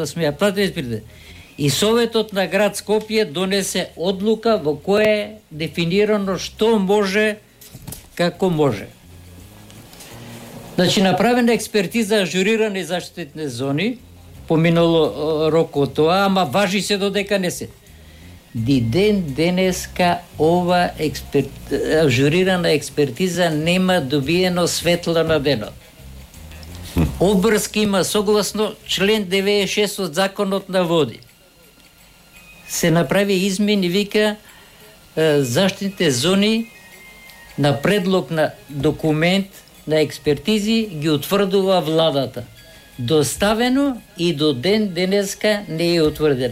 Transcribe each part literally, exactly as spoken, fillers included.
сме ја платили пред. И Советот на град Скопје донесе одлука во која е дефинирано што може, како може. Значи, направена експертиза ажурирани заштитни зони, поминало рок од тоа, ама важи се додека не се. Ди ден денеска ова експерт... ажурирана експертиза нема добиено светла на денот. Обврски има согласно член деветдесет и шест од Законот на води. Се направи измени, вика, заштитните зони на предлог на документ на експертизи ги утврдува владата. Доставено и до ден денеска не е утврден.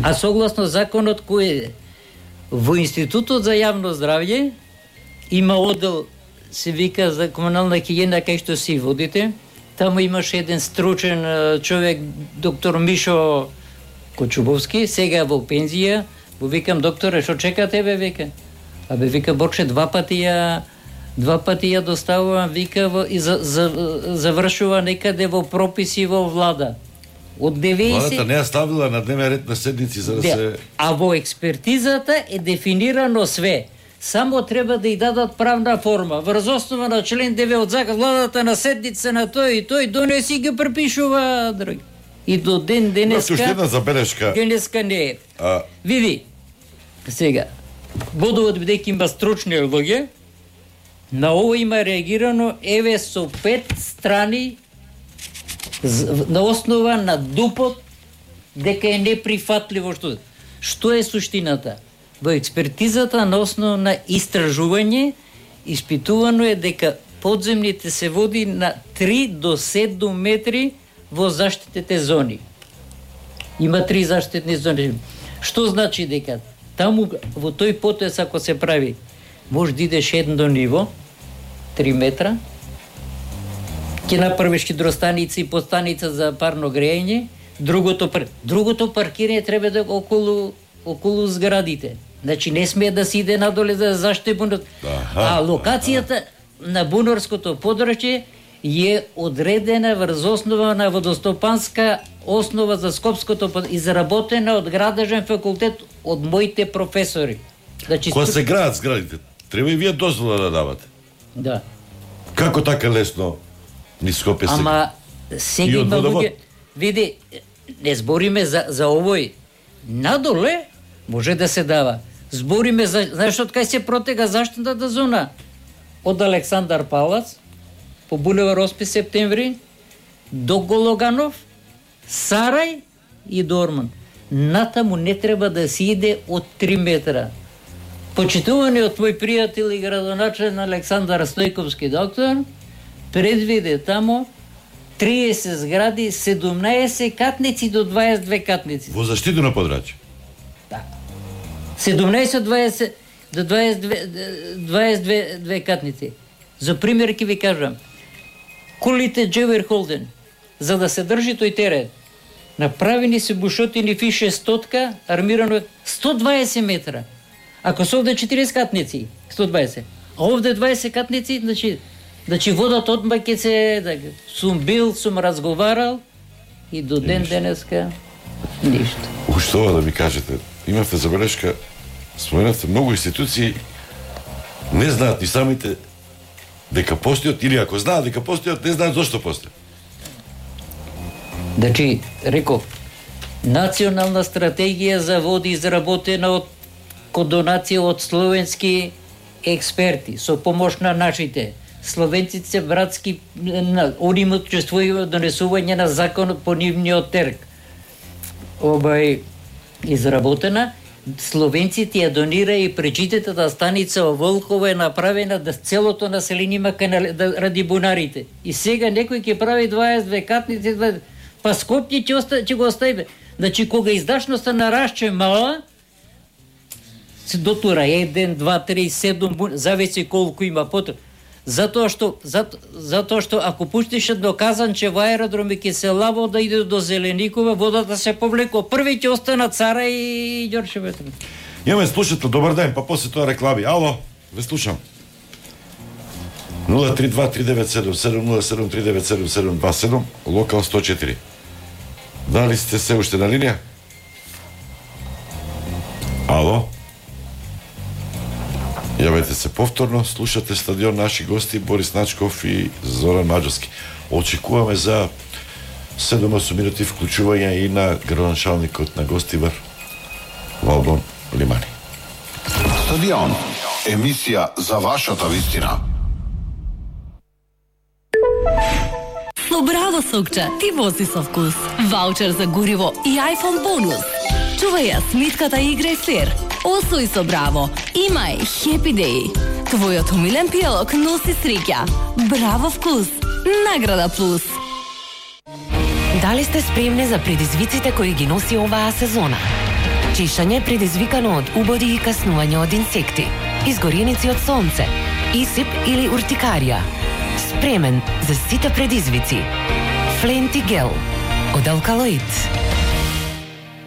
А согласно законот кој е во Институтот за јавно здравје има одел, се вика, за комунална хигиена, кај што си водите. Таму имаше еден стручен човек, доктор Мишо Кочубовски, сега во пензија. Го викам: докторе, што чекате, бе, вика? Абе, вика, Борче, два пати ја два пати ја доставувам, вика, во, и за, за, завршува некаде во прописи во влада. Од деветдесет... Владата не ја ставила на дневен ред на седници за да, да се... А во експертизата е дефинирано све. Само треба да ја дадат правна форма. Врз основа на член девет од закон, владата на седница на тој и тој донеси ги препишува, драги. И до ден денеска... Уште една забелешка. Денеска не е. А... Види, сега, бодовот бидејќи има стручни луѓе, на ово има реагирано, еве, со пет страни на основа на дупот дека е неприфатливо што. Што е суштината? Во експертизата на основа на истражување испитувано е дека подземните се води на три до седум метри во заштитните зони. Има три заштитни зони. Што значи дека таму во тој потез ако се прави, може да идеш едно ниво, три метра, ќе направиш хидростаница и подстаница за парно грејење, другото пар... другото паркирање треба да околу околу зградите. Значи не смее да се иде надоле за заштити бунар. А локацијата на бунарското подрачје е одредена врз основа на водостопанска основа за Скопското, изработена од градежен факултет од моите професори. Значи кога се градат зградите, треба и вие дозвола да давате. Да. Како така лесно ни Скопје се? Ама сега има луѓе, види, не збориме за за овој. Надоле може да се дава. Збориме за, знаеш од кај се протега заштитната зона? Од Александар Палац по булевар осми септември до Гологанов, Сарај и Дорман. Натаму не треба да се иде од три метра. Почитуваниот мој пријател и градоначелник Александар Стојковски доктор предвиде тамо триесет згради, седумнаесет катници до дваесет и две катници. Во заштитено подрачје? Да. седумнаесет дваесет до дваесет и две, дваесет и две катници. За пример ќе ви кажам. Кулите Джевер Холден, за да се држи тој терен, направени се бушотини фише стотка, армирано сто дваесет метра. Ако се овде четириесет катници, сто дваесет. А овде дваесет катници, значи, значи водата одма ќе се... Да, сум бил, сум разговарал и до ден денеска ништо. Уште ова да ми кажете, имавте забелешка, споменавте многу институции, не знаат ни самите дека постојат, или ако знаат дека постојат, не знаат зошто постојат. Значи, реков, национална стратегија за води изработена од донација од словенски експерти, со помош на нашите. Словенците братски, они имат учествување донесување на закон по нивниот терк. Обај изработена, словенците ја донира и пречитетата станица во Волково е направена да целото население има канал, да, ради бунарите. И сега некој ќе прави дваесет и две катници, дваесет... па Скопје ќе, оста... ќе го остави. Значи, кога издашноста нарашче мала, се дотура еден, два, три, седум, зависи колку има потреб. Затоа што, зато, затоа што ако пуштиш до Казанче во аеродроми ќе се лаво да иде до Зеленикова, водата се повлеко. Први ќе останат Цара и Ѓорче Ветров. Имаме слушател, добар ден, па после тоа реклами. Ало, ве слушам. нула три два три девет седум седум нула седум три девет седум седум два седум, локал сто четири. Дали сте се уште на линија? Ало? Јавете се повторно, слушате Стадион, наши гости Борис Начков и Зоран Маџарски. Очекуваме за седум-осум минути вклучување и на градоначалникот на Гостивар, Валбон Лимани. Стадион, емисија за вашата вистина. Со Браво Сокча ти вози со вкус. Ваучер за гориво и iPhone бонус. Чувај ја смитката и играј флер. Освој со Браво. Имај Happy Day. Твојот умилен пијалок носи среќа. Браво вкус. Награда плюс. Дали сте спремни за предизвиците кои ги носи оваа сезона? Чешање предизвикано од убоди и каснување од инсекти, изгореници од сонце, исип или уртикарија. Спремен за сите предизвици. Фленти гел од алкалоид.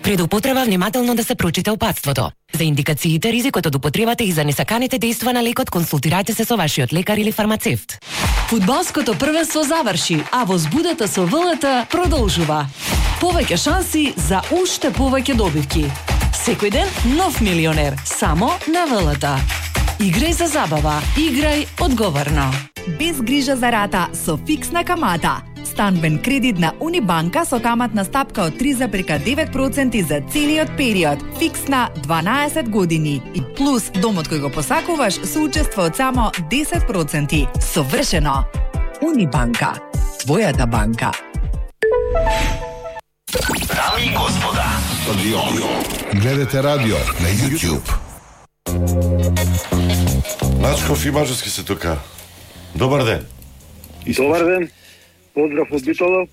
Пред употреба внимателно да се прочита упатството. За индикациите, ризикот од употребата и за несаканите дејства на лекот консултирајте се со вашиот лекар или фармацевт. Фудбалското првенство заврши, а возбудата со ВЛТ продолжува. Повеќе шанси за уште повеќе добивки. Секој ден нов милионер, само на ВЛТ. Играј за забава, играј одговорно. Без грижа за рата со фиксна камата. Станбен кредит на Унибанка со каматна стапка од три зарез девет проценти за целиот период. Фиксна дванаесет години. И плюс домот кој го посакуваш со учество од само десет проценти. Совршено. Унибанка. Твојата банка. Дами и господа, Стадион. Гледате радио на YouTube. Начков и Маџарски се тука. Добар ден. Добар ден. Поздрав од Битола.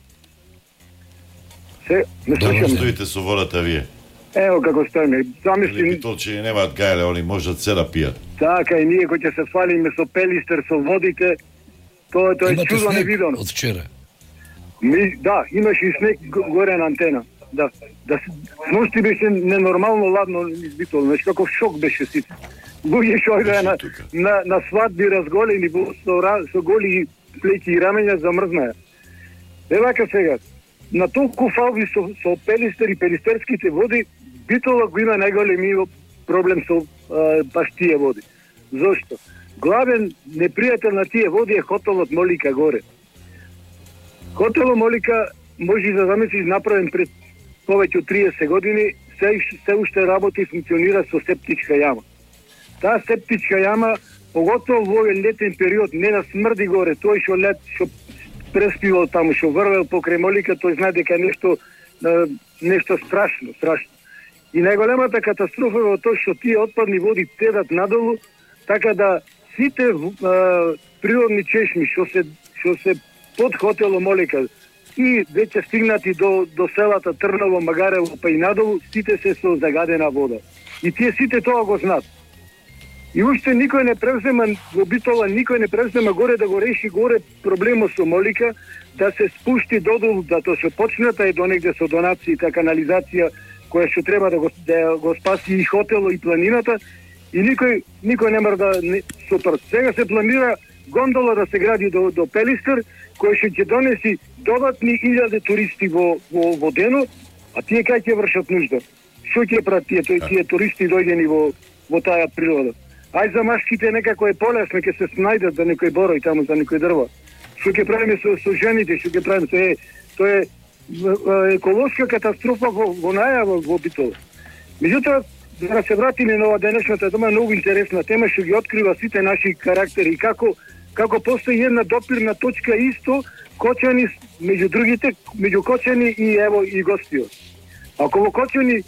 Се, не Добро слушам. стоите со водата вие. Ево како стоиме. Замисли, Битолчи немаат гајле, они можат се да пијат. така и ние кои ќе се фалиме со пелистер, со водите, тоа тоа е Имате чудо снег невидено. од вчера. Ми, да, имаше и снег го- горе на антена. Да, да с- сношти беше ненормално ладно низ Битола, значи каков шок беше сите. Луѓе што оѓаја на, Тука. на, на свадби разголени во- со, ра- со голи плеќи и рамења замрзнаја. Е вака сега, на толку фалби со, со пелистер и пелистерските води, Битола го има најголеми проблем со а, баш тие води. Зошто? Главен непријател на тие води е хотелот Молика горе. Хотелот Молика може да замислиш направен пред повеќе од триесет години, се, се уште работи и функционира со септичка јама. Таа септичка јама, поготово во овој летен период, не да смрди горе, тој што лет, што преспивал таму, што врвел покрај Молика, тој знае дека нешто а, нешто страшно, страшно. И најголемата катастрофа е во тоа што тие отпадни води тедат надолу, така да сите а, природни чешми што се што се под хотелот Молика и веќе стигнати до до селата Трново, Магарево, па и надолу, сите се со загадена вода. И тие сите тоа го знаат. И уште никој не превзема во Битола, никој не превзема горе да го реши горе проблемот со Молика, да се спушти додолу, да тоа се почната и до негде со донации, та канализација која што треба да го, да го спаси и хотело и планината, и никој никој не мора да не, супер. Сега се планира гондола да се гради до до Пелистер, кој што ќе донеси додатни илјади туристи во во во денот, а тие кај ќе вршат нужда? Што ќе прават тие тој тие туристи дојдени во во таа природа? Ај за машките некако е полесно, ќе се снајдат за некој борој таму, за некој дрва. Што ќе правиме со, со жените, што ќе правиме со е, тоа е е, еколошка катастрофа во, во најава во Битола. Меѓутоа, да се вратиме на ова денешната тема, многу интересна тема, што ги открива сите наши карактери и како како постои една допирна точка исто Кочани меѓу другите, меѓу Кочани и ево и Гостио. Ако во Кочани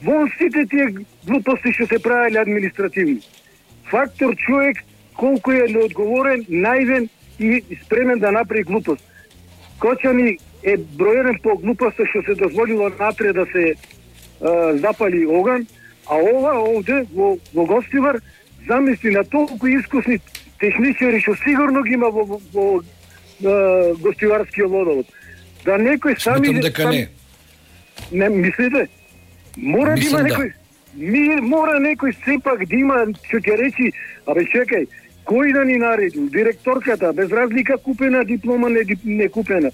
вон сите тие глупости што се правеле административни. Фактор човек колку е неодговорен, наивен и спремен да направи глупост. Кочани е бројен по глупоста што се дозволило напред да се а, запали оган, а ова овде во, во Гостивар замисли на толку искусни техничари што сигурно ги има во, во, во а, Гостиварскиот водовод. Да некој сами... Сметам дека сам... не. Не, мислите? Мора да има Мислам, да. некој... Ми, мора некој сепак да има, што ќе речи, абе чекај, кој да ни нареди? Директорката, без разлика купена диплома, не, не купена.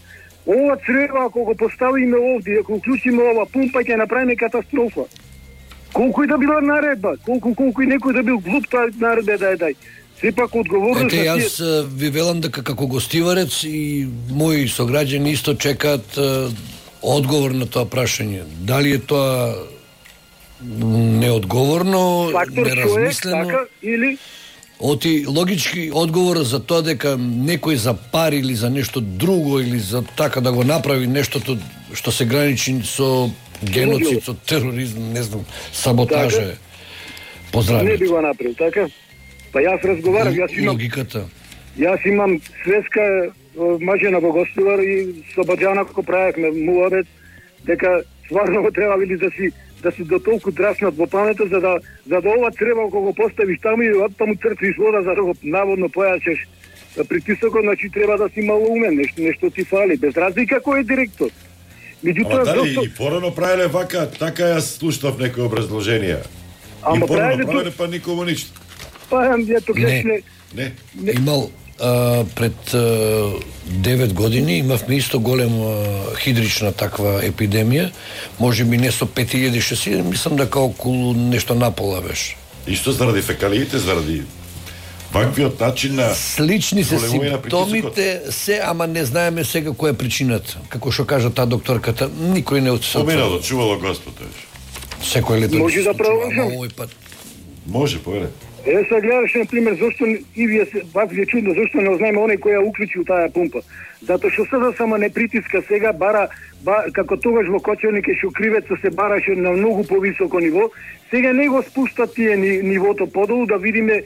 ова црева ако го поставиме овде, ако уклучиме ова пумпа, ќе направиме катастрофа. Колку и да била наредба, колку колку и некој да бил глуп, таа наредба да е дај. Сепак одговорност. Ете, јас тие... ви велам дека како гостиварец и мои сограѓани исто чекаат одговор на тоа прашање. Дали е тоа неодговорно, фактор неразмислено? Човек, така, или Оти логички одговор за тоа дека некој за пари или за нешто друго или за така да го направи нештото што се граничи со геноцид, со тероризм, не знам, саботажа. Така? Поздравите. Не би го направил, така? Па јас разговарам, јас имам логиката. Јас имам свеска мажена во гостувар и со Баџана како правевме муабет дека стварно го треба били да си да си до толку драснат во памета за да за да ова треба кога го поставиш таму и оттаму црпиш вода за да го наводно појачеш притисокот, значи треба да си мало умен, нешто нешто ти фали, без разлика кој е директор. Меѓутоа дали зашто... и порано правеле вака, така јас слушнав некои образложенија. Ама и порано правеле, правеле па никому ништо. Па ето не. не. Не. не. Имал а, пред а, девет години имавме исто голема хидрична таква епидемија, можеби не со пет илјади шест илјади, мислам дека околу нешто напола беше. Исто заради фекалиите, заради ваквиот начин на слични се симптомите се, ама не знаеме сега која е причината. Како што кажа таа докторката, никој не отсутува. Поминало, чувало Господ. Секој лето. Може да продолжам. Овој пат. Може, поведе. Е, сега гледаш, например, зашто и вие вас ви е чудно, зашто не ознаеме оној кој ја уклучил таа пумпа. Затоа што сега само не притиска сега, бара, ба, како тогаш во Кочевник и Шукривеца се бараше на многу повисоко ниво, сега не го спуштат тие ни, нивото подолу да видиме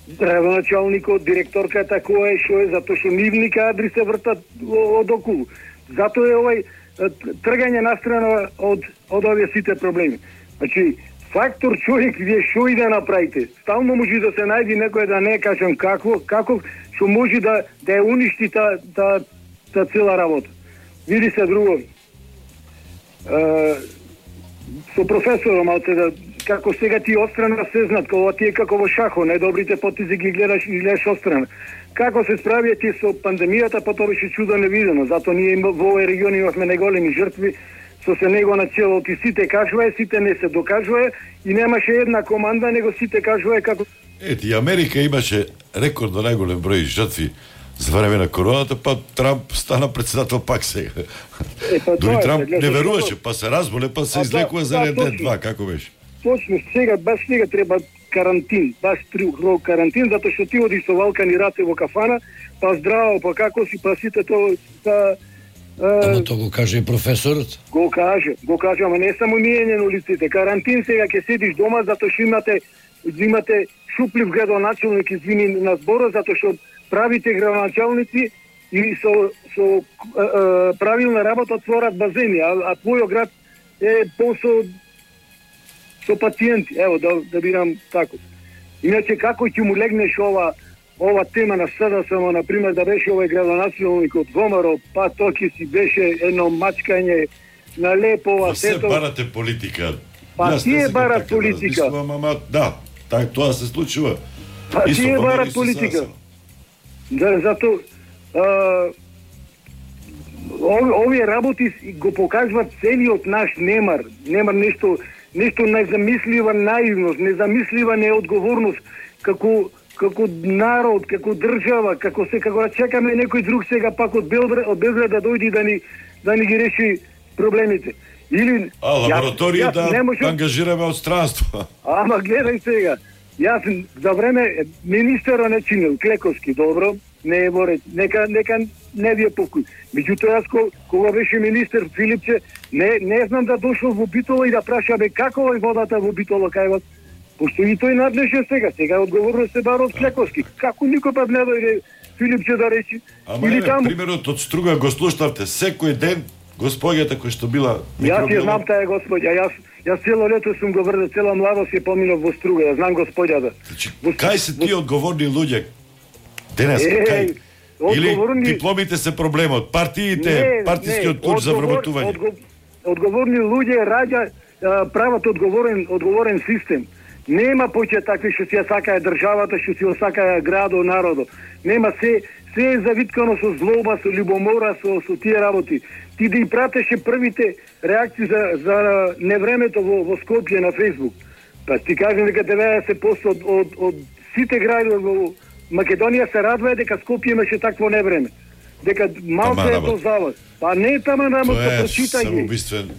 градоначалникот, директорката која е, што е, затоа што нивни кадри се вртат од околу. Затоа е овај тргање настрана од од овие сите проблеми. Значи, фактор човек, вие што и да направите, стално може да се најде некој, да не кажам какво, како што може да да ја уништи та та та цела работа. Види се друго. Е, со професором, малце да како сега ти отстрана се знат, кога ти е како во шахо, најдобрите потези ги гледаш и гледаш отстрана. Како се справија ти со пандемијата, па тоа беше чудо невидено, затоа ние во овој регион имавме најголеми жртви, со се него на чело, ти сите кажувае, сите не се докажувае и немаше една команда, него сите кажувае како... Ети, Америка имаше рекордно најголем број жртви за време на короната, па Трамп стана председател пак сега. Е, па Дори тоа, Трамп да, не веруваше, па се разболе, па се излекува за еден ден, два, како беше? Точно, сега, баш сега треба карантин, баш тру карантин, затоа што ти одиш со валкани раце во кафана, па здраво, па како си, па сите тоа... Та, Ама тоа го каже и професорот. Го каже, го каже, ама не само миење на улиците. Карантин сега ќе седиш дома затоа што имате имате шуплив градоначалник, извини на зборот, затоа што правите градоначалници и со со е, е, правилна работа отворат базени, а, а твојот град е посо со пациенти. Ево да да бирам тако. Иначе како ќе му легнеш ова ова тема на СДСМ, на пример, да беше овој градоначалник од Гомаров, па тоа ќе си беше едно мачкање на лепова сето. Се барате политика. Па тие барат политика. Да, ама, да, так тоа се случува. Па тие барат политика. Да, зато овие работи го покажуваат целиот наш немар, немар нешто нешто незамислива наивност, незамислива неодговорност како како народ, како држава, како се како да чекаме некој друг сега пак од Белград, од Белград да дојде да ни да ни ги реши проблемите. Или а лабораторија јас, јас да можем... ангажираме од странство. Ама гледај сега. Јас за време министерот не чинил Клековски, добро, не е во ред. Нека нека не ви е покој. Меѓутоа јас кога беше министер Филипче, не не знам да дошол во Битола и да праша бе како е водата во Битола кај вас. Пошто и тој надлежен сега, сега одговорност се бара од Клековски. Како никој пат не дојде Филипче да речи. Ама или таму... примерот од Струга го слушнавте секој ден господјата која што била микробиолог. Јас ја знам таа господја, јас јас цело лето сум го врзел, цела младост ја поминав во Струга, ја знам господјата. Значи, кај се тие одговорни луѓе? Денес кај? Или дипломите се проблемот, партиите, партискиот курс за вработување. Одговорни луѓе раѓа прават одговорен одговорен систем. Нема поќе такви што си ја сакае државата, што си ја сакае градо, народо. Нема, се се е завиткано со злоба, со љубомора, со со тие работи. Ти да и пратеше првите реакции за за невремето во, во Скопје на Facebook. Па ти кажам дека деветдесет проценти од, од, од сите градови во Македонија се радвае дека Скопје имаше такво невреме. Дека малку е тоа за вас. Па не тама работа, прочитај ги. Самоубиствен.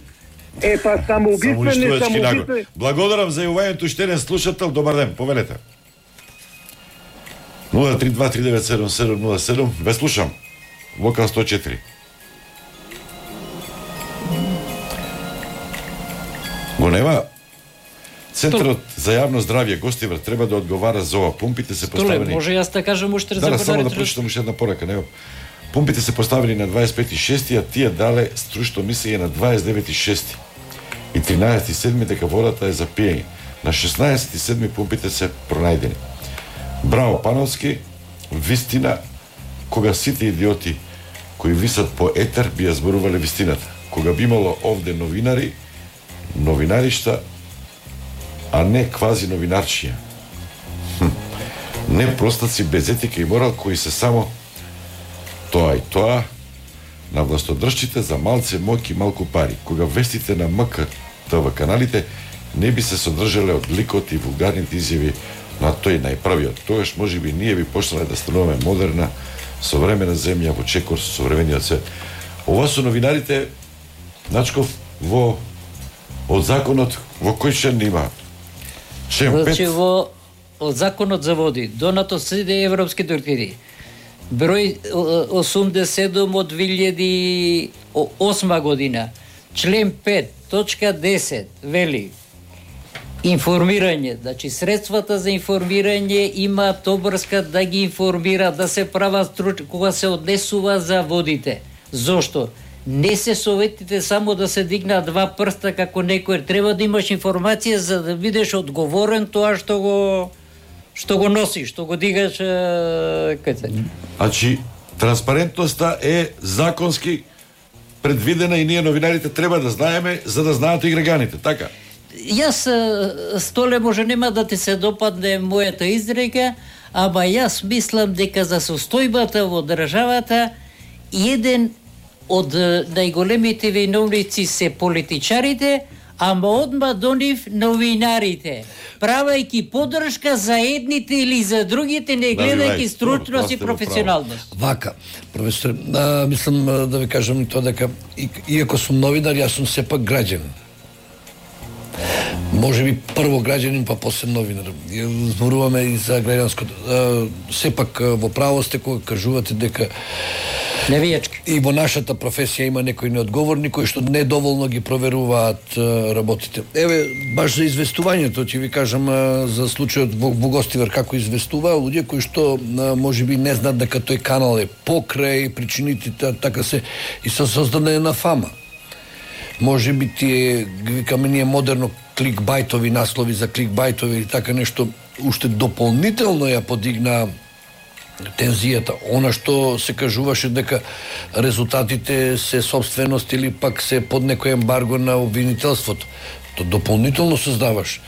Е, па самоубиствен, не самоубиствен. Благодарам за јавувањето уште еден слушател. Добар ден, повелете. нула три два три девет седум седум нула седум. Ве слушам. Вокал сто четири. Го нема. Центарот за јавно здравје Гостивар треба да одговара за ова. Пумпите се поставени. Столе, може јас да кажам уште да, да, само да прочитам уште една порака, не. Пумпите се поставени на дваесет пети шести, а тие дале струшно мислење на дваесет девети шести и тринаесети седми дека водата е за пиење. На шеснаесети седми пумпите се пронајдени. Браво Пановски, вистина, кога сите идиоти кои висат по етер би ја зборувале вистината. Кога би имало овде новинари, новинаришта, а не квази новинарчија. Хм. Не простаци без етика и морал кои се само тоа и тоа на властодржците за малце моќ и малку пари. Кога вестите на МК ТВ каналите не би се содржале од ликот и вулгарните изјави на тој најправиот. Тогаш можеби ние би почнале да стануваме модерна, современа земја во чекор со современиот свет. Ова со новинарите, Начков, во од законот во кој член има? Член пет. Значи во од законот за води, донато сите европски директиви. Број осумдесет и седум од две илјади и осма година. Член пет, точка десет вели информирање, значи средствата за информирање имаат обврска да ги информира, да се прават струч кога се однесува за водите. Зошто? Не се советите само да се дигнат два прста како некој, треба да имаш информација за да бидеш одговорен тоа што го што го носиш, што го дигаш кај. Значи транспарентноста е законски предвидена и ние новинарите треба да знаеме за да знаат и граѓаните, така? Јас, Столе, може нема да ти се допадне мојата изрека, ама јас мислам дека за состојбата во државата еден од најголемите виновници се политичарите, ама одма до нив новинарите, правајќи подршка за едните или за другите, не гледајќи стручност и професионалност. Вака, професор, а, мислам да ви кажам и тоа дека и, иако сум новинар, јас сум сепак граѓанин. Може би прво граѓанин, па после новинар. Зборуваме и за граѓанското. Сепак во право сте кога кажувате дека Невијачки. И во нашата професија има некои неодговорни кои што недоволно ги проверуваат работите. Еве, баш за известувањето, ќе ви кажам за случајот во Гостивар како известуваа луѓе кои што можеби не знаат дека тој канал е покрај причините, така се и се создаде на фама. Може би тие, викаме ние модерно, кликбајтови наслови за кликбајтови или така нешто, уште дополнително ја подигна тензијата. Она што се кажуваше дека резултатите се собственост или пак се под некој ембарго на обвинителството. То дополнително создаваш.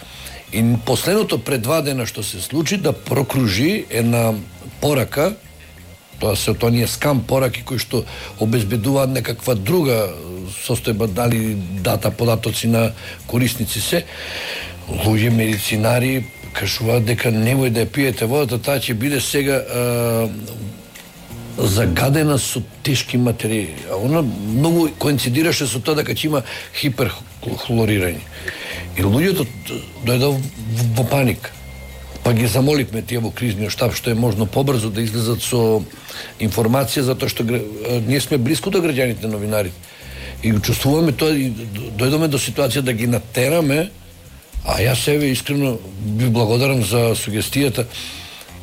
И последното предвадена што се случи да прокружи една порака, тоа се тоа ние скам пораки кои што обезбедуваат некаква друга состојба, дали дата податоци на корисници се, луѓе медицинари кажуваат дека немој да ја пиете водата, таа ќе биде сега а, загадена со тешки материјали. А она многу коинцидираше со тоа дека ќе има хиперхлорирање. И луѓето дојдоа во паника. Па ги замоливме тие во кризниот штаб што е можно побрзо да излезат со информација, затоа што ние сме блиску до граѓаните новинарите. И чувствуваме тоа и дојдоме до ситуација да ги натераме. А јас себе искрено би благодарам за сугестијата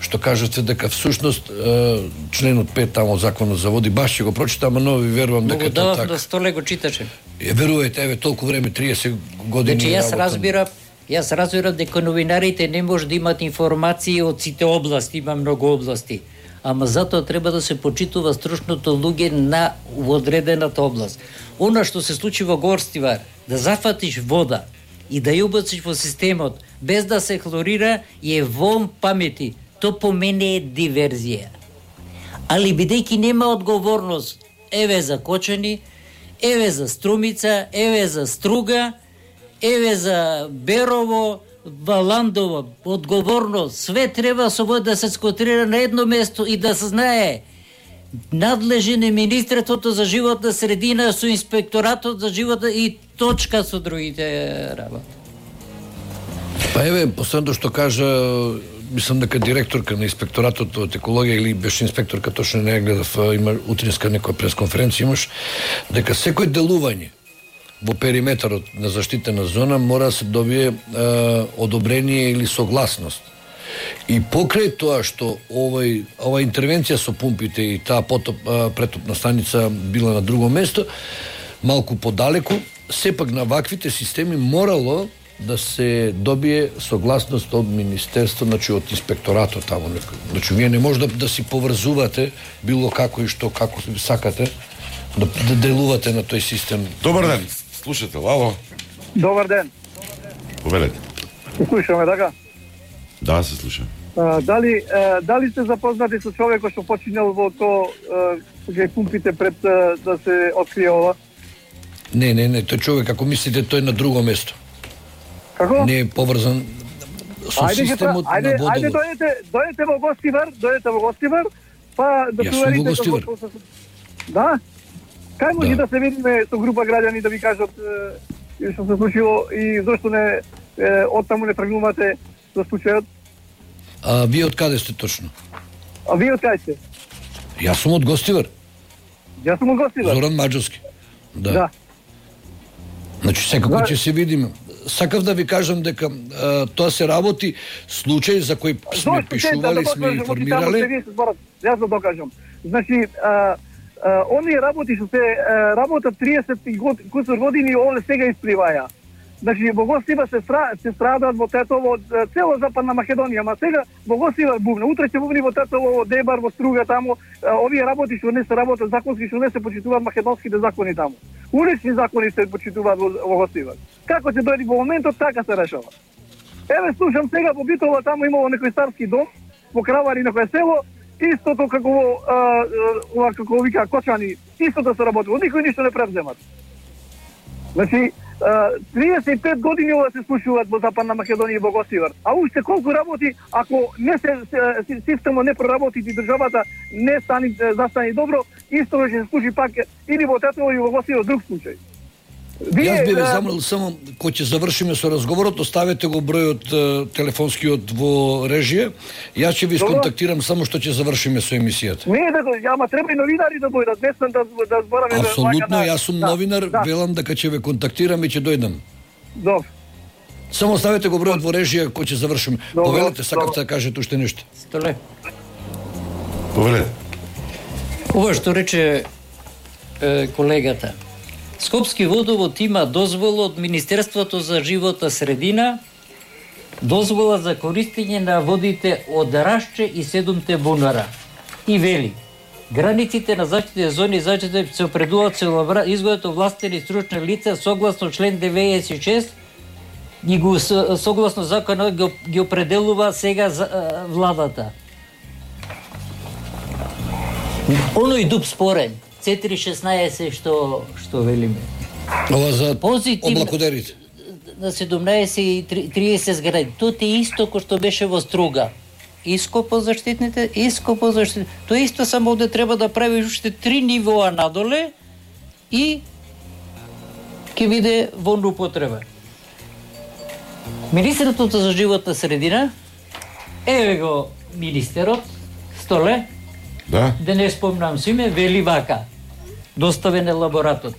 што кажете дека всушност членот пет тамо законот за води баш ќе го прочитам, но ви верувам дека тоа така. Да Столе го читаше. Е, верувате, еве толку време, триесет години. Значи јас разбирам, јас разбирам дека новинарите не може да имат информации од сите области, има многу области. Ама затоа треба да се почитува стручното луѓе на одредената област. Она што се случи во Гостивар, да зафатиш вода и да ја убациш во системот без да се хлорира е вон памети. То по мене е диверзија. Али бидејќи нема одговорност, еве за Кочани, еве за Струмица, еве за Струга, еве за Берово, Валандово, одговорност, све треба со да се сконцентрира на едно место и да се знае надлежен е Министерството за животна средина со Инспекторатот за животна и точка со другите работи. Па еве, последното што кажа, мислам дека директорка на Инспекторатот од екологија или беше инспекторка, точно не ја гледав, има утринска некоја пресконференција имаш, дека секој делување во периметарот на заштитена зона мора да се добие е, одобрение или согласност. И покрај тоа што овој ова интервенција со пумпите и таа потоп претопна станица била на друго место, малку подалеку, сепак на ваквите системи морало да се добие согласност од Министерство, значи од Инспекторатот таму. Значи вие не може да, да си поврзувате било како и што, како сакате да, да делувате на тој систем. Добар ден, слушател, ало. Добар ден. Повелете. Слушаме, така? Да, се слушам. А, дали, а, дали сте запознати со човекот што починал во то кај пумпите пред а, да се открие ова? Не, не, не, тој човек, ако мислите, тој на друго место. Како? Не е поврзан со ајде, системот ајде, на водовод. Ајде, дојдете, дојдете во Гостивар, дојдете во Гостивар, па да Јас сум во Гостивар. Да? Кај може Да. да се видиме со група граѓани да ви кажат е, што се случило и зошто не е, оттаму не тргнувате за случајот? А вие од каде сте точно? А вие од кај сте? Јас сум од Гостивар. Јас сум од Гостивар. Зоран Маđовски. Да. Да. Значи секако Да. ќе се видиме. Сакав да ви кажам дека а, тоа се работи случај за кој сме Зошто пишували, да сме докажам, информирале. вие се зборат, Јас да докажам. Значи, а, а, оние работи што се а, работат триесет год, кусор години, овде сега испливаја. Значи, во Гостивар се, стра, се страдаат во Тетово, цело Западна Македонија, ма сега во Гостивар бувне, утре ќе бувни во Тетово, во Дебар, во Струга таму, а, овие работи што не се работат законски, што не се почитуваат македонските закони таму. Улични закони се почитуваат во, во Гостивар. Како се дојде во моментот, така се решава. Еве слушам сега во Битола, таму имало некој старски дом, во Кравари некој село, истото како во ова како вика Кочани, истото се работи, никој ништо не превземат. Значи, триесет и пет години ова се случуваат во Западна Македонија и во Гостивар. А уште колку работи, ако не се, се системот не проработи и државата не стани застани добро, исто ќе се случи пак или во Тетово или во Гостивар друг случај. Јас би ве замолил само кога ќе завршиме со разговорот, оставете го бројот е, телефонскиот во режија. Јас ќе ви сконтактирам само што ќе завршиме со емисијата. Не, да, ама треба и новинари да дојдат, не сам да да збораме. Апсолутно, јас сум да, новинар, да. велам дека ќе ве контактирам и ќе дојдам. Добро. Само оставете го бројот во режија кога ќе завршиме. Добро, Повелете, сакавте добро. да кажете уште нешто. Столе. Повелете. Ова што рече е, колегата. Скопски водовод има дозвола од Министерството за животна средина, дозвола за користење на водите од Рашче и седумте бунара. И вели, границите на заштитните зони заштите се определуваат со изгодот овластени стручни лица согласно член деветдесет и шест и го согласно законот ги, ги определува сега за, а, владата. Оној дуб спорен, четири шеснаесет што што велиме. Ова за Позитивно- облакодерите. На седумнаесет и триесет згради. Тоа е исто кој што беше во Струга. Иско по заштитните, иско по заштитните. Тоа исто само овде треба да правиш уште три нивоа надоле и ќе биде во употреба. Министерството за животна средина, еве го министерот, Столе, Да? да не спомнам со име, вели вака, доставен е лаборатот.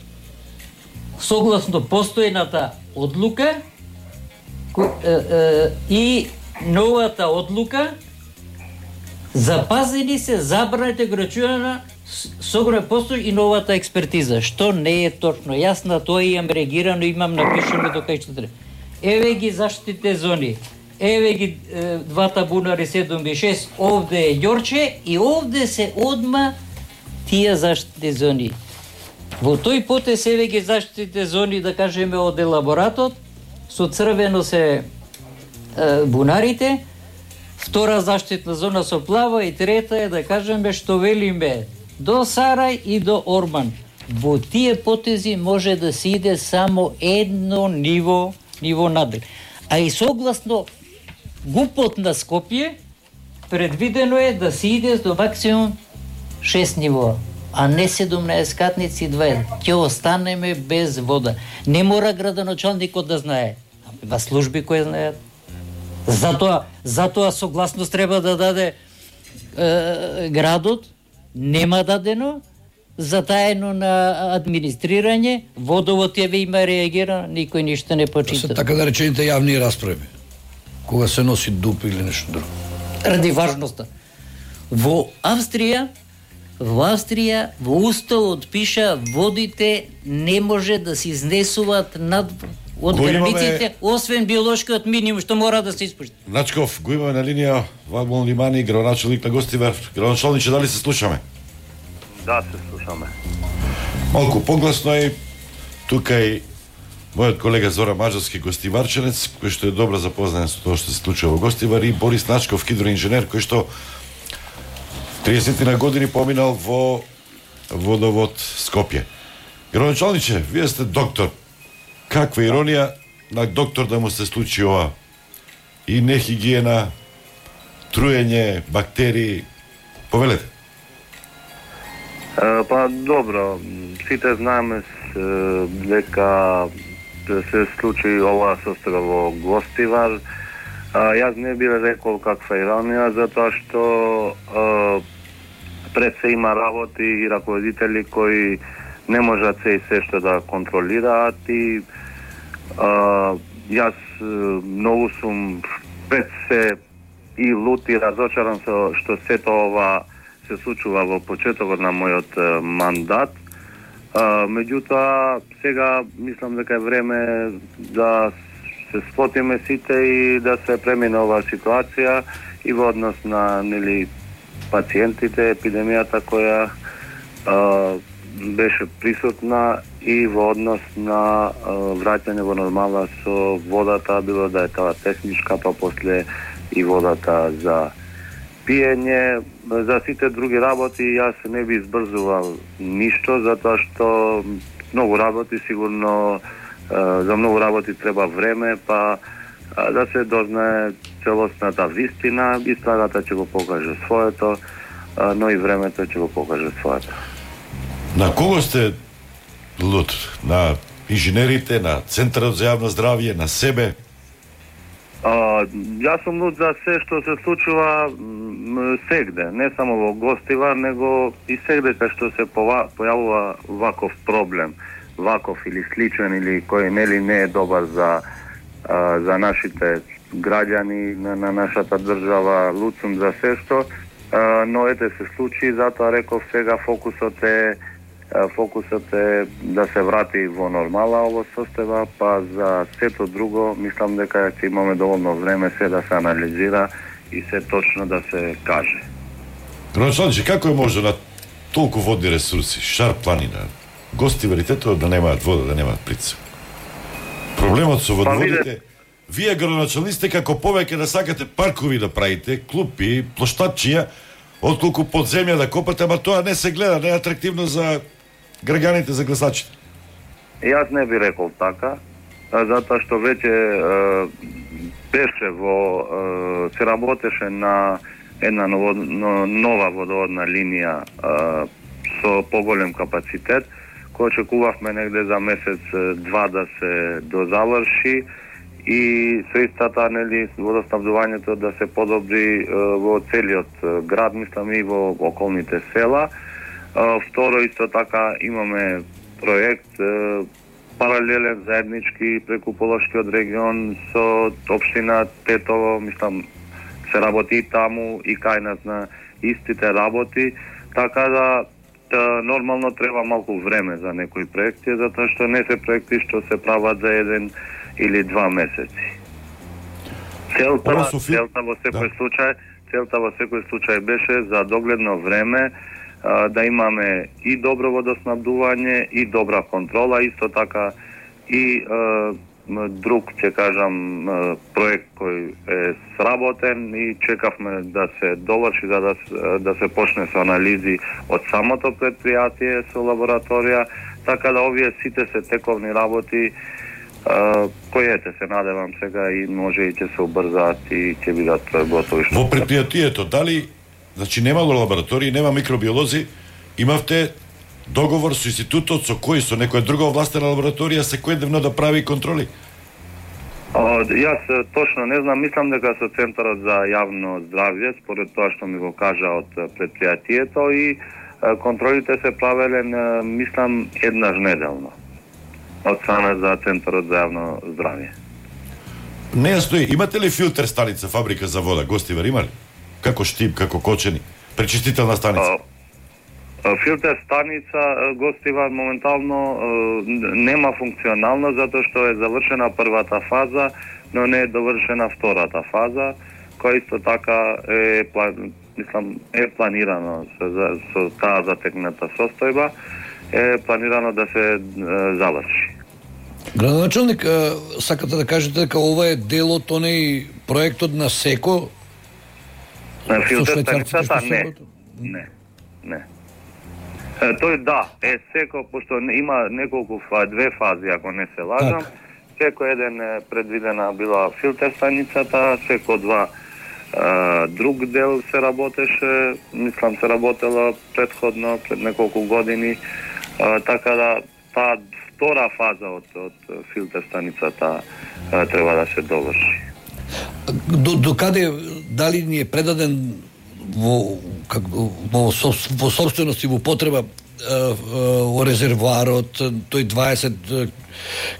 Согласно постојната одлука кој, е, е, и новата одлука, запазени се забраните ограничувања согра постои и новата експертиза, што не е точно. Јас на тоа имам реагирано, имам напишано до кај што треба. Еве ги заштитите зони. Еве ги е, двата бунари седум и шест, овде е Ѓорче и овде се одма тие заштитни зони. Во тој потез еве ги заштитите зони, да кажеме од елаборатот, со црвено се е, бунарите, втора заштитна зона со плава и трета е да кажеме што велиме до Сарај и до Орман. Во тие потези може да се иде само едно ниво, ниво надел. А и согласно ГУПот на Скопје, предвидено е да се иде до максимум шест нивоа, а не седумнаесет катници и дваесет. Ќе останеме без вода. Не мора градоначалникот да знае. Има служби кои знаат. Затоа, затоа согласност треба да даде е, градот, нема дадено, затаено на администрирање, водовод ја има реагира, никој ништо не почита. Се така да речените јавни расправи, кога се носи дуп или нешто друго. Ради важноста. Во Австрија, во Австрија, во уставот пиша водите не може да се изнесуваат над од границите, имаме... освен биолошкиот минимум што мора да се испушти. Начков, го имаме на линија Вагмон Лимани, градоначалник на Гостивар. Градоначалниче, дали се слушаме? Да, се слушаме. Малку погласно е тука и мојот колега Зоран Маđarски, гостиварченец, кој што е добро запознаен со тоа што се случува во Гостивар, и Борис Начков, хидроинженер, кој што триесет на години поминал во водовод Скопје. Градоначалниче, вие сте доктор. Каква иронија на доктор да му се случи ова? И нехигиена, труење, бактерии. Повелете. Uh, па добро, сите знаеме дека се случи ова состојба во Гостивар. Uh, јас не би рекол каква иронија, затоа што uh, пред се има работи и раководители кои не можат се и се што да контролираат и uh, јас многу сум пред се и лут и разочаран со што сето ова се случува во почетокот на мојот uh, мандат. Uh, меѓутоа, сега мислам дека е време да се сплотиме сите и да се премине оваа ситуација и во однос на нели пациентите, епидемијата која uh, беше присутна и во однос на uh, враќање во нормала со водата, било да е таа техничка, па после и водата за пиење. За сите други работи јас не би избрзувал ништо, затоа што многу работи сигурно, за многу работи треба време, па да се дознае целосната вистина, истората ќе го покаже своето, но и времето ќе го покаже своето. На кого сте лут? На инженерите, на Центарот за јавно здравје, на себе? Uh, јас сум лут за се што се случува м, сегде, не само во Гостивар, него и сегде кај што се пова, појавува ваков проблем, ваков или сличен, или кој нели не е добар за, uh, за нашите граѓани, на, на нашата држава. Лут сум за се што, uh, но ете се случи, затоа реков сега фокусот е фокусот е да се врати во нормала ово состојба, па за сето друго мислам дека ќе имаме доволно време се да се анализира и се точно да се каже. Градоначалниче, како е може на толку водни ресурси, Шар планина, Гостиваритето да немаат вода, да немаат притисок? Проблемот со водоводите, вие градоначалниците како повеќе да сакате паркови да правите, клупи, плоштадчиња, отколку под земја да копате, ама тоа не се гледа, не е атрактивно за граѓаните, за гласачите. Јас не би рекол така, затоа што веќе е, беше во е, се работеше на една ново, нова водоводна линија е, со поголем капацитет, кој очекувавме негде за месец два да се дозаврши и со истата нели водоснабдувањето да се подобри е, во целиот град, мислам и во околните села. Uh, второ, исто така имаме проект uh, паралелен заеднички преку Полошкиот регион со општина Тетово, мислам се работи и таму и кај нас на истите работи, така да та, нормално треба малку време за некои проекти, затоа што не се проекти што се прават за еден или два месеци. Целта, целта во секој да. случај, целта во секој случај беше за догледно време да имаме и добро водоснабдување и добра контрола, исто така и е, друг, ќе кажам, проект кој е сработен и чекавме да се доврши за да, да се почне со анализи од самото предпријатие со лабораторија, така да овие сите се тековни работи кои ете се надевам сега и може и ќе се убрзаат и ќе бидат готови. Во предпријатието дали, значи немало лаборатории, нема микробиолози, имавте договор со институтот, со кој, со некоја друга овластена лабораторија секојдневно да прави контроли? О, јас точно не знам, мислам дека со Центарот за јавно здравје, според тоа што ми го кажа од предпријатието, и контролите се правеле, мислам, еднаш неделно од страна за Центарот за јавно здравје. Не стои. Имате ли филтер станица, фабрика за вода, Гостивар, има ли? Како Штип, како Кочени, пречистителна станица? Филтер станица Гостивар моментално нема функционално затоа што е завршена првата фаза, но не е довршена втората фаза, која исто така е, мислам, е планирано со, со таа затегната состојба, е планирано да се заврши. Градоначалник, сакате да кажете дека ова е дел од онеј проектот на СЕКО? На филтер станицата? Не. Не. Не. Тој да, е СЕКО, пошто има неколку две фази, ако не се лажам. СЕКО еден е предвидена била филтер станицата, СЕКО два друг дел се работеше, мислам се работела предходно, пред неколку години, така да таа втора фаза од, од филтер станицата треба да се доврши. До, до каде, дали ни е предаден во, как, во, во собственост и во потреба во резервоарот, тој дваесет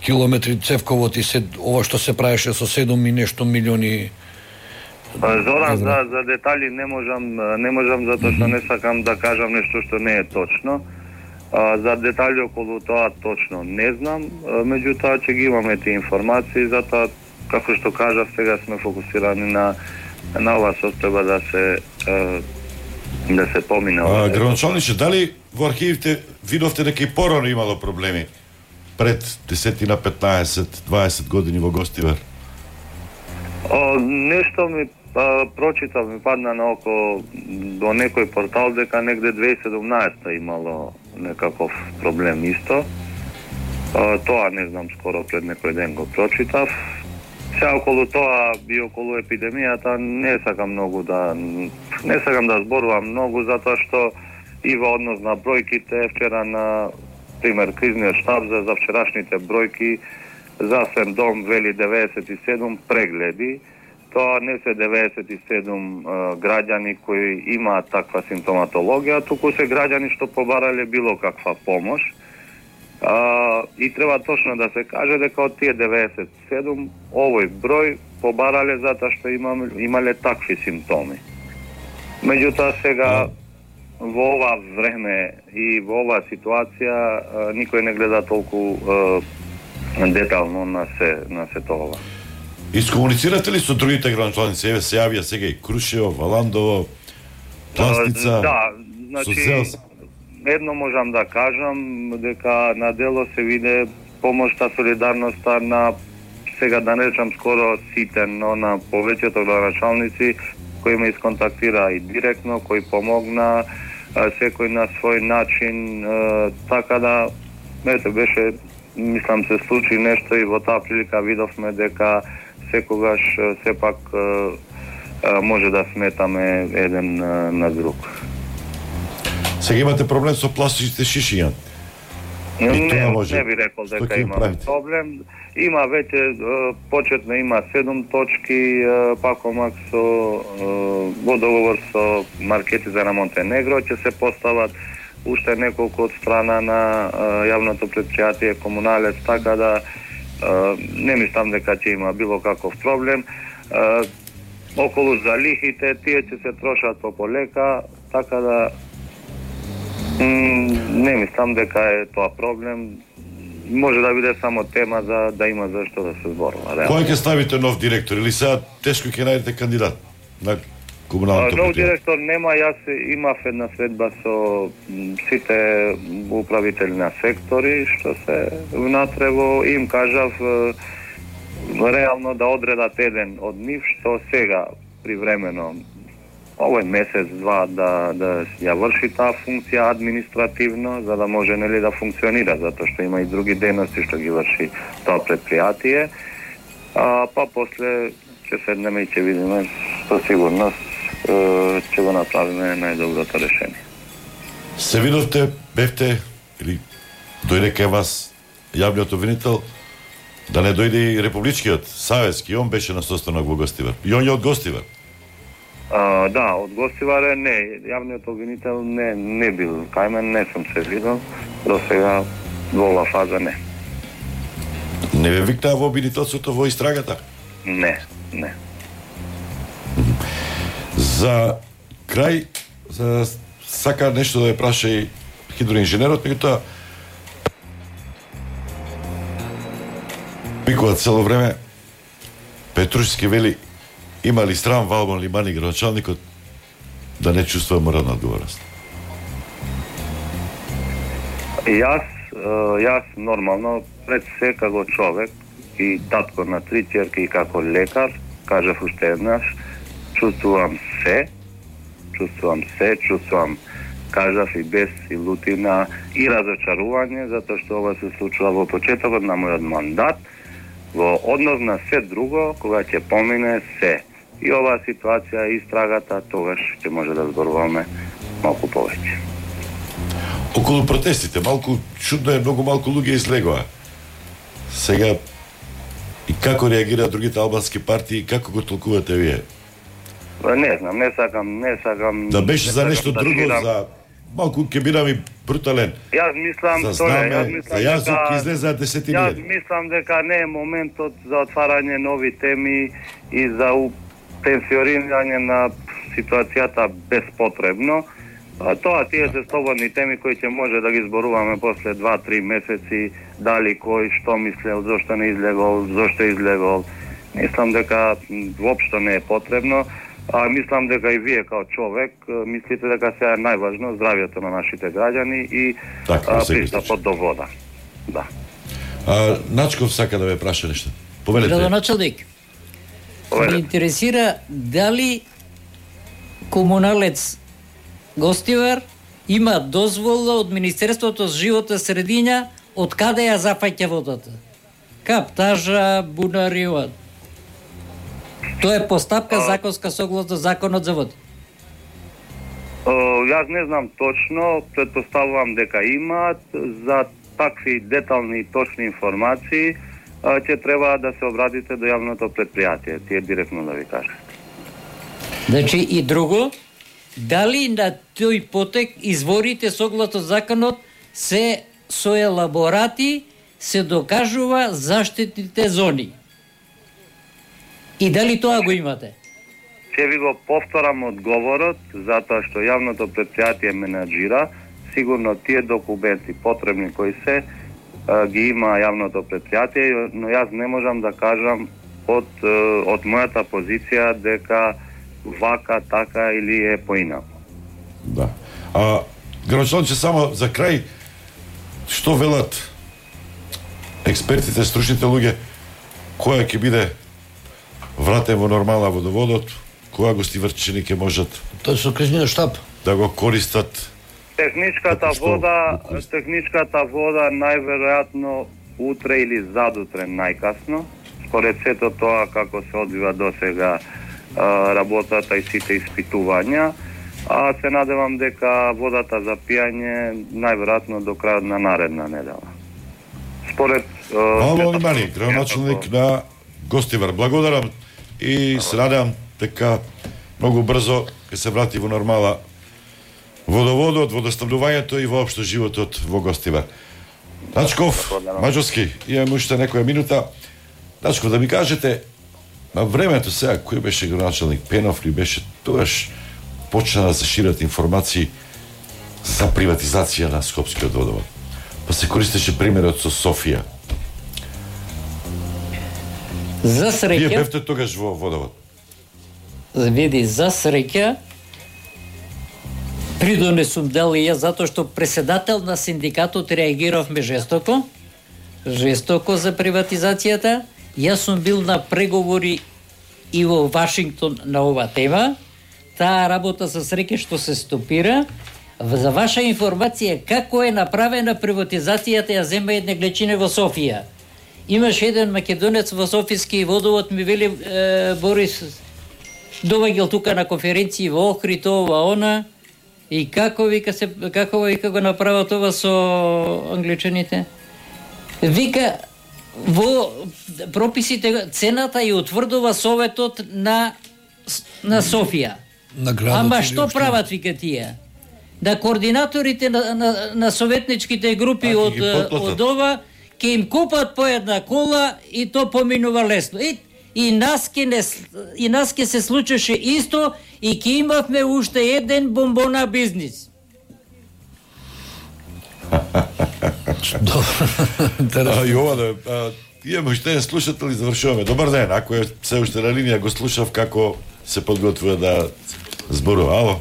километри цевковод и се, ова што се правеше со седум и нешто милиони? Зоран, за, за детали не можам, не можам затоа што не сакам да кажам нешто што не е точно. За детали околу тоа точно не знам, меѓутоа ќе ги имаме тие информации, затоа како што кажав, сега сме фокусирани на на ова состојба да се да се помине. А, градоначалниче, дали во архивите видовте дека и порано имало проблеми пред десетина, петнаесет, дваесет години во Гостивар? О, нешто ми а, прочитав, ми падна на око до некој портал дека негде две тисаји и седумнаесета имало некаков проблем исто. А, тоа не знам, скоро пред некој ден го прочитав. Сега околу тоа и околу епидемијата не сакам многу да не сакам да зборувам многу, затоа што и во однос на бројките, вчера на пример кризниот штаб за, за вчерашните бројки, Здравствен дом вели деветдесет и седум прегледи. Тоа не се деветдесет и седум uh, граѓани кои имаат таква симптоматологија, туку се граѓани што побарале било каква помош. Uh, и треба точно да се каже дека од тие деветдесет и седум овој број побарале затоа што имам, имале такви симптоми. Меѓутоа сега во ова време и во оваа ситуација uh, никој не гледа толку uh, детално на се на се тоа. Искомуницирате ли со другите градоначалници? Еве се јавија сега и Крушево, Валандово, Пластица. Да, значи едно можам да кажам дека на дело се виде помошта, солидарноста на сега да не речам скоро сите, но на повеќето градоначалници кои ме исконтактира и директно, кои помогна секој на свој начин, така да ете беше, мислам се случи нешто и во таа прилика видовме дека секогаш сепак може да сметаме еден на друг. Сега имате проблем со пластичните шишиња? Не, не, може... не би рекол дека имаме проблем. Има веќе, почетно има седум точки, пакомак со во договор со маркети за на Монтенегро, ќе се постават уште неколку од страна на јавното предпријатие Комуналец, така да не мислам дека ќе има било каков проблем. Околу залихите, тие ќе се трошат пополека, така да не мислам дека е тоа проблем. Може да биде само тема за да има зашто да се зборува. Кој ќе ставите нов директор или сега тешко ќе најдете кандидат на комуналното предпријатие? Нов директор нема, јас имав една средба со сите управители на сектори што се внатре во, им кажав реално да одредат еден од нив што сега привремено овој месец два да да ја врши таа функција административно, за да може нели да функционира, затоа што има и други дејности што ги врши тоа претпријатие. А па после ќе седнеме и ќе видиме со сигурност ќе го направиме најдоброто решение. Се видовте, бевте или дојде кај вас јавниот обвинител, да не дојде и републичкиот, Савески, он беше на состанок во Гостивар. И он е од Гостивар. А, да, од Гостивар не, јавниот обвинител не не бил кај мен, не сум се видел, до сега во оваа фаза не. Не ве викнаа во обвинителството во истрагата? Не, не. За крај, за сака нешто да ја праша и хидроинженерот, меѓутоа викува цело време Петрушевски вели има ли срам Валбон Лимани градоначалникот да не чувствува морална одговорност? Јас, јас нормално пред се како човек и татко на три ќерки и како лекар, кажав уште еднаш, чувствувам се, чувствувам се, чувствувам, кажав и без и лутина и разочарување, затоа што ова се случува во почетокот на мојот мандат, во однос на се друго, кога ќе помине се. И оваа ситуација и истрагата, тогаш ќе може да зборуваме малку повеќе. Околу протестите, малку чудно е, многу малку луѓе излегоа. Сега, и како реагираат другите албански партии, како го толкувате вие? Не знам, не сакам, не сакам... Да беше за нешто да друго, ширам. за... Малку ке бидам и брутален. Јас мислам, за тоа, знаме, јас мислам за јазук дека, излезаат десетини. Јас мислам дека не е моментот за отварање нови теми и за пенсионирање на ситуацијата безпотребно. А тоа тие се слободни теми кои ќе може да ги зборуваме после два-три месеци, дали кој што мислел, зошто не излегол, зошто излегол. Мислам дека воопшто не е потребно. А мислам дека и вие као човек мислите дека сега е најважно здравјето на нашите граѓани и така, пристапот до вода. Да. А, Начков сака да ве праша нешто. Повелете. Градоначалник, ме интересира дали комуналец Гостивар има дозвола од Министерството за животна средина од каде ја зафаќа водата. Каптажа, бунариот. Тоа е постапка законска согласно законот за води. Јас не знам точно, претпоставувам дека имаат. За такви детални и точни информации ќе треба да се обратите до јавното предпријатие, тие директно да ви кажат. Значи и друго, дали на тој потек изворите согласно законот се со елаборати се докажува заштитните зони? И дали тоа го имате? Ќе ви го повторам одговорот, затоа што јавното предпријатие менаџира, сигурно тие документи потребни кои се ги има јавното предпријатие, но јас не можам да кажам од од мојата позиција дека вака, така или е поинаку. Да. А градоначалниче, само за крај, што велат експертите, стручните луѓе, која ќе биде вратен во нормала водоводот, кога гостиварчани ќе можат Тоа со кризниот штаб да го користат? Техничката вода, техничката вода најверојатно утре или задутре најкасно, според сето тоа како се одвива досега работата и сите испитувања, а се надевам дека водата за пијање најверојатно до крајот на наредна недела. Според Валбон Лимани, градоначалник на Гостивар, благодарам и се надевам дека многу брзо ќе се врати во нормала водоводот, водоснабдувањето и воопшто животот во Гостивар. Начков, Маđовски, имаме уште некоја минута. Начков, да ми кажете, на времето сега, кој беше градоначалник, Пенов ли беше, тогаш почна да се шират информации за приватизација на Скопскиот водовод. Па се користеше примерот со Софија. За среќа... Вие бевте тогаш во водовод. Види, за среќа, придонесум дел и ја затоа што преседател на синдикатот реагиравме жестоко, жестоко за приватизацијата Јас сум бил на преговори и во Вашингтон на ова тема. Таа работа со среќа што се стопира. За ваша информација, како е направена приватизацијата, ја зема една глечине во Софија. Имаш еден македонец во Софијски водовод, ми вели е, Борис, доваѓал тука на конференции во Охрид, ова, она, и како вика се како вика го направа тоа со англичаните? Вика во прописите цената ја утврдува Советот на на Софија. На градот. Ама што прават вика тие? Да координаторите на, на, на советничките групи а, од, од ова ќе им купат по една кола и то поминува лесно. И, и нас ке не и нас ке се случеше исто и ќе имавме уште еден бомбона бизнис. А, и ова да, а, имаме уште еден слушател и завршуваме. Добар ден, ако е се уште на линија, го слушав како се подготвува да зборува. Ало?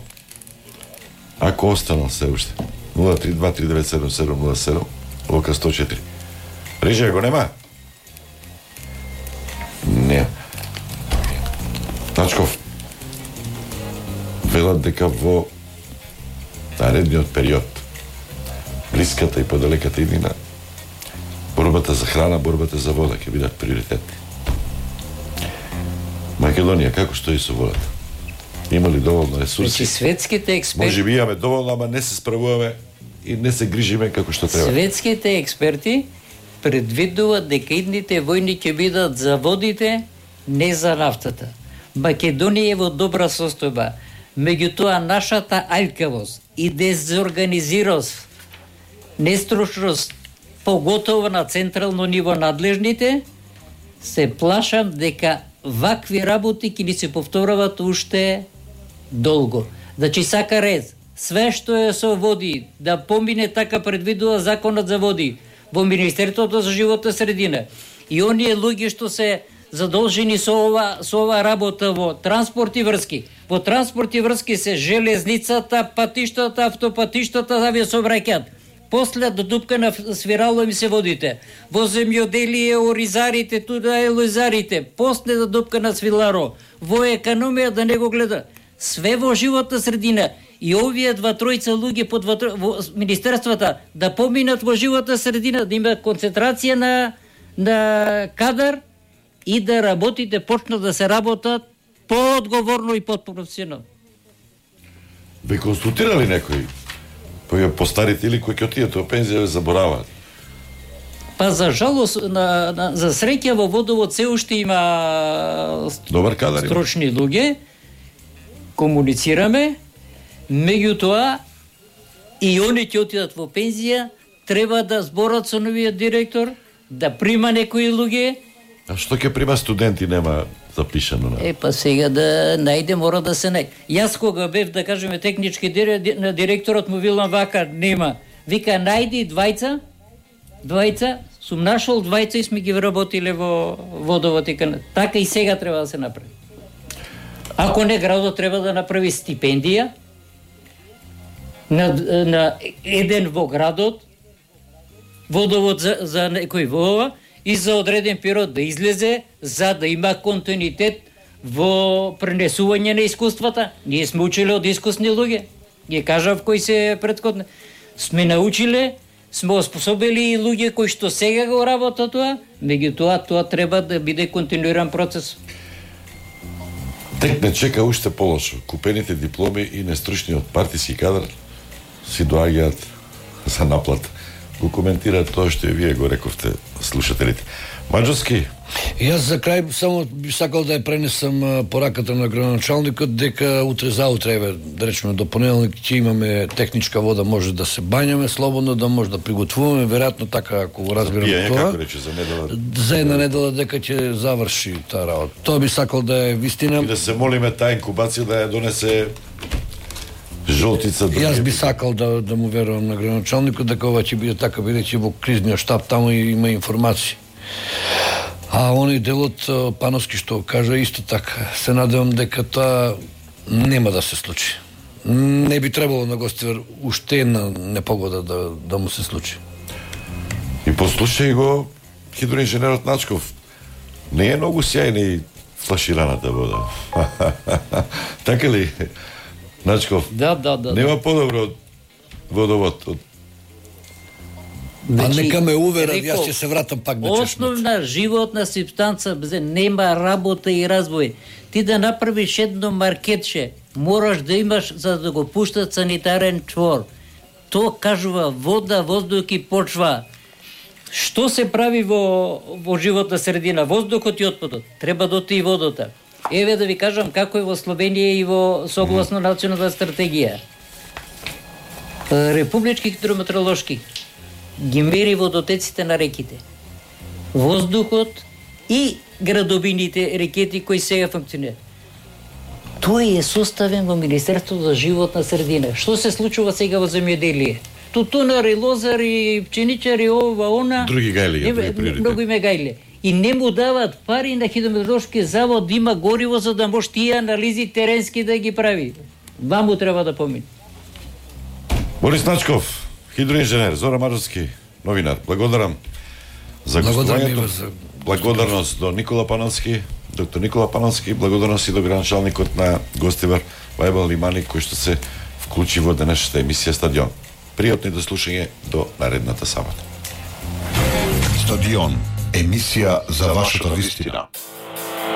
Ако останал се уште. нула три два три девет седум седум нула седум, лока сто четири. Режија го нема? Не. Начков, велат дека во наредниот период, блиската и подалеката иднина, борбата за храна, борбата за вода ќе бидат приоритетни. Македонија, како стои со водата? Има ли доволно ресурси? Значи, светските експерти... Може би имаме доволно, ама не се справуваме и не се грижиме како што треба. Светските експерти предвидуваат дека идните војни ќе бидат за водите, не за нафтата. Македонија е во добра состојба. Меѓутоа, нашата аljкавост и дезорганизираност, нестручност, поготово на централно ниво надлежните, се плашам дека вакви работи ќе ни се повторуваат уште долго. Значи сака рез, све што е со води, да помине така предвидува законот за води во Министерството за животна средина. И оние луѓе што се задолжени со ова со ова работа во транспорт и врски. Во транспорт и врски се железницата, патиштата, автопатиштата, авиосообраќајот. После до дупка на свирало им се водите. Во земјоделие, оризарите, туда е лозарите. После до дупка на свиларо. Во економија да не го гледа. Све во животна средина. И овие два тројца луѓе под во, во министерствата да поминат во животна средина, да има концентрација на на кадар и да работите почнат да се работат поодговорно и подпрофесионално. Ве консултирали некој? Кои постарите или кои ќе отидат во пензија забораваат? Па за жалост, на, на, за среќа во водовод се уште има добар кадар, стручни луѓе, комуницираме, меѓутоа и они ќе отидат во пензија, треба да зборат со новиот директор, да прима некои луѓе. А што ќе прима студенти нема запишано на? Е, па сега да најде, мора да се најде. Јас кога бев, да кажеме, технички директор, на директорот му вилам вака, нема. Вика, најди двајца, двајца, сум нашол двајца и сме ги вработиле во водовод и канал. Така и сега треба да се направи. Ако не, градот треба да направи стипендија на, на еден во градот, водовод за, за некој во ова, и за одреден период да излезе, за да има континуитет во пренесување на искуствата. Ние сме училе од искусни луѓе. Ги кажав кои се претходни. Сме научиле, сме оспособили и луѓе кои што сега го работат тоа, меѓутоа тоа треба да биде континуиран процес. Тек не чека уште полошо. Купените дипломи и нестручниот партиски кадар си доаѓаат за наплата. Го коментираат тоа што и вие го рековте, слушателите. Маđarски? Јас за крај само би сакал да ја пренесам пораката на градоначалникот дека утре заутре, еве, да речеме до понеделник ќе имаме техничка вода, може да се бањаме слободно, да може да приготвуваме, веројатно така ако го разбираме тоа. Како рече за недела? За една недела дека ќе заврши таа работа. Тоа би сакал да е вистина. И да се молиме таа инкубација да ја донесе жолтица. Јас би сакал да да му верувам на градоначалникот дека ова ќе биде така, бидејќи во кризниот штаб таму има информации. А оној делот Пановски што кажа исто така. Се надевам дека тоа нема да се случи. Не би требало на Гостивар уште една непогода да да му се случи. И послушај го хидроинженерот Начков. Не е многу сјајна и флашираната вода. Така ли, Начков? Да, да, да. Нема подобро од водовод. Од... А нека ме уверат, јас ќе се вратам пак на чешмата. Основна животна субстанца, бзе, нема работа и развој. Ти да направиш едно маркетче, мораш да имаш за да го пуштат санитарен чвор. То кажува вода, воздух и почва. Што се прави во, во животна средина? Воздухот и отпадот. Треба да оти и водата. Еве да ви кажам како е во Словенија и во согласно национална стратегија. Републички хидрометеоролошки ги мери водотеците на реките, воздухот и градовините, рекети кои сега функционираат. Тој е составен во Министерството за животна средина. Што се случува сега во земјоделие? Тутунари, лозари, пченичари, ова, она. Други гајли, други приоритети. Многу име гајле. И не му дават пари на хидрометеоролошки завод да има гориво за да може тие анализи теренски да ги прави. Два му треба да помине. Борис Начков, хидроинженер, Зоран Маджовски, новинар. Благодарам за гостувањето. За... Благодарност до Никола Панонски, доктор Никола Панонски, благодарност и до граначалникот на Гостивар Вајбал Лимани, кој што се вклучи во денешната емисија Стадион. Пријатно и до слушање до наредната сабота. Стадион, емисија за вашата вистина.